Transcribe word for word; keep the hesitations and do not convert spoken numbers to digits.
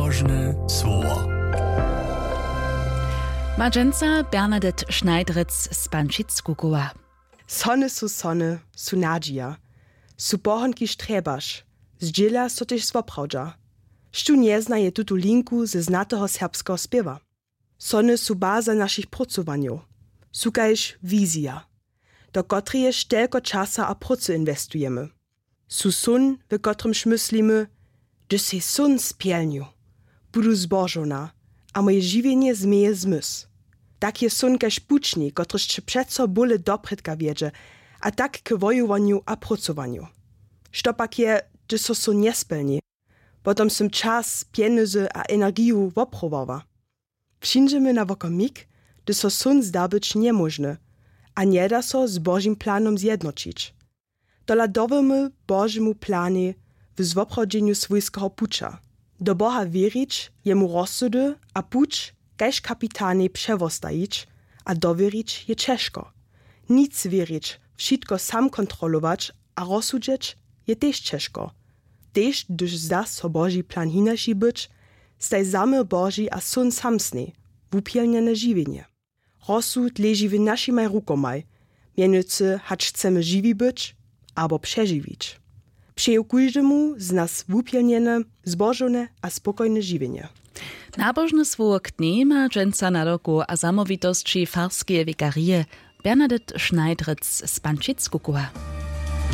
Nabožne słowo. Ma dźensa Bernadette Schneidrec z Pančic-Kukowa. Sony su sony, su nadźija, su pohonki štrjebaš, zdźěla so tež swoprawdźa. Štó njeznaje tutu linku ze znateho serbskeho spěwa? Sony su baza našich prócowanjow, su kaž wizija, do kotreje štelko časa a prócy inwestujemy. Su són, w kotrymž myslimy, hdyž sej són spjelnju, budu zbožowna a moje žiwjenje změje zmysł. Tak je són kaž pućnik, kotryž će přeco bóle doprědka wjedźe, a tak k wojowanju a prócowanju. Što pak je, hdyž so són njespjelni? Potom sym čas, pjenjezy a energiju woprowała. Přińdźemy na wokomik, hdyž so són zda być njemóžny a njeda so z Božim planom zjednoćić. Tola dowěrmy Božemu planej w zwoprawdźenju swójskeho puća. Do Boha wěrić, jemu rozsudy a puć kaž kapitanej přewostajić a dowěrić je ćežko. Nic wěrić, wšitko sam kontrolować a rozsudźeć je tež ćežko. Tež hdyž zda so Boži plan hinaši być, staj zaměr Boži a són samsnej, wupjelnjene žiwjenje. Rozsud leži w našimaj rukomaj, mjenujcy hač chcemy žiwi być abo přežiwić. Přeju kóždemu z nas wupjelnjene, zbožowne a spokojne žiwjenje. Nabožne słowo k dnjej ma dźensa nadawku a zamołwitosći farskeje wikarije Bernadette Schneidrec z Pančic-Kukowa.